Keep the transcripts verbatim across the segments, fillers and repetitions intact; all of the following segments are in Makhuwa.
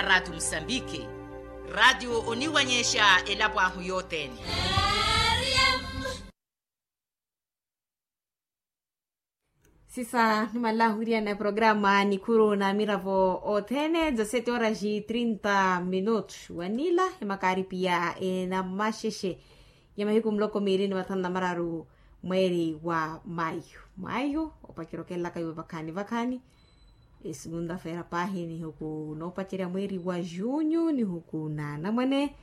Ratu musambiki. Ratu oniwanyexa elapo ahu yotene. Sisa numanlahu wiriana programa nikuru na miravo othene dza sete horas e trinta minutos wanila emakaripiya enamaxexe ya mahiku muloko miili ni mathanu na mararu mweeri wa mayu. Mayu opacerya okelelaka iwe vakhani vakhani. Esugunta feera paahi nihuku noopacerya mweeri wa junyu nihuku na anamwane.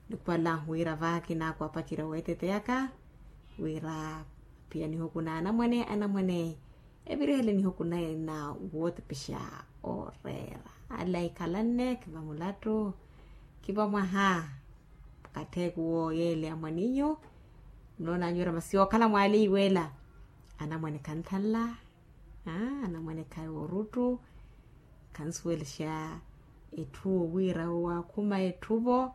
Nikupalahu wira vaaki naaku apacerya weeteteyaka wira pia nihuku na anamwane anamwane evirihele nihuku na ina wootepexa ooreera. Ala ikhalanne khiva mulattu khiva mwaha. Kattheeku wo yeele amwaninyu. Munoonanyu wira masi yookhala mwaali iweela anamwane khanthanla. Anamwane khayi ooruttu khansuwelexa etthu wo wira owaakhuma etthu vo.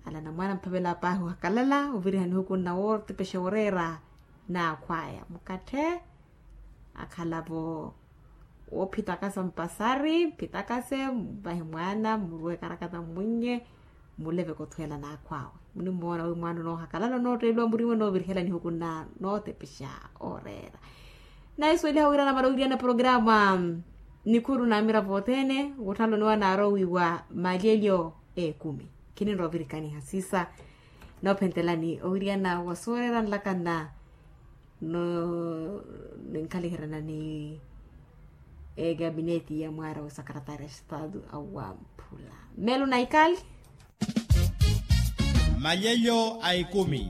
Ala anamwane amphavela paahi ohakalala oviriha nihuku nna wootepexa oreera naakhwaya mukathe. Akhala vo woophitakasa mpasari mphitakase mvahe mwaana mmuruwe karakata mmunnye mmuleveke othweela naakhwaawe. Munimoona wi mwaana onoohakalala onootteeliwa muriwe noovirihela nihuku nna nootepexa ooreera. Naisuweliha wira namala owiriyana programa nikhuru na miravo othene wotthalo ni wanaara owiiwa malyelyo ekumi. Khininrovirikaniha sisa noophentelani owiriyana wa sooreera nlakanna. No ninkhaliherana ni egabineti ya mwaara wa sakaratari a estado awamphula. Melo na ikali. Malyelyo a ikumi.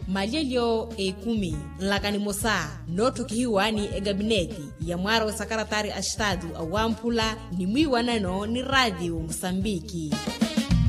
Malyelyo a ikumi nlaka nimosa nootthokihiwa ni egabineti ya mwaara wa sakaratari a estado awamphula ni mwiiwanano ni raatiyo musambiki.